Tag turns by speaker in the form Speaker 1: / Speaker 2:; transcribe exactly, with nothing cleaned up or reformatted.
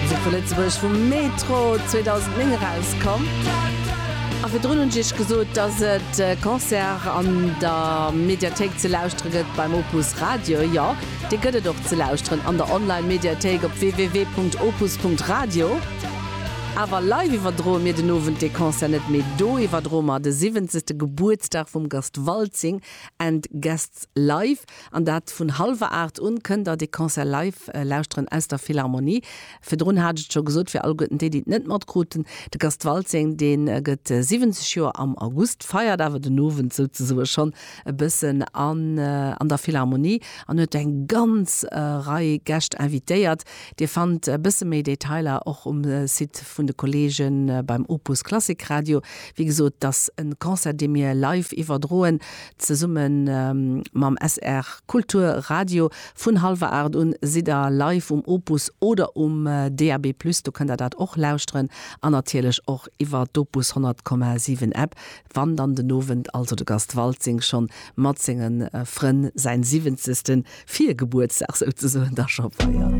Speaker 1: Musek vu Lëtzebuerg vum Metro zweedausendnéng erauskomm. A virdrun hunn ech iech gesot, dass et e Concert an der Mediathéik ze lauschtere gëtt beim Opus Radio. Jo, dee gëtt et och ze lauschteren an der Online-Mediathéik op www.opus.radio. Awer live iwwerdroe mir den Owend dee Concert net, mee do iwwerdroe mer de siwwenzegste Gebuertsdag vum Gast Waltzing and Guests live. An dat vun hallwer aacht un kënnt der dee Concert live lauschteren aus der Philharmonie. Virdrun hat ech et scho gesot, fir alleguerten déi, déi et net matkruten, de Gast Waltzing, dee gëtt siwwenzeg Joer am August, feiert awer den Owend souzesoe schonn e bëssen an an der Philharmonie an huet do eng ganz Rei Gäscht invitéiert. Dir fannt e bësse méi Detailer och um Site vun de Kolleege beim Opus Klassik Radio. Wéi gesot, et ass e Concert, dee mir live iwwerdroen, zesumme mam S R Kultur Radio. Vun hallwer aacht un sidd der live um Opus oder um D A B plus, do kënnt der dat och lauschteren an natierlech och iwwer d'Opus honnert Komma siwen App, wann dann den Owend also de Gast Waltzing schonn mat senge Frënn säin siwwenzegste Virgebuertsdag souzesoen da scho feiert.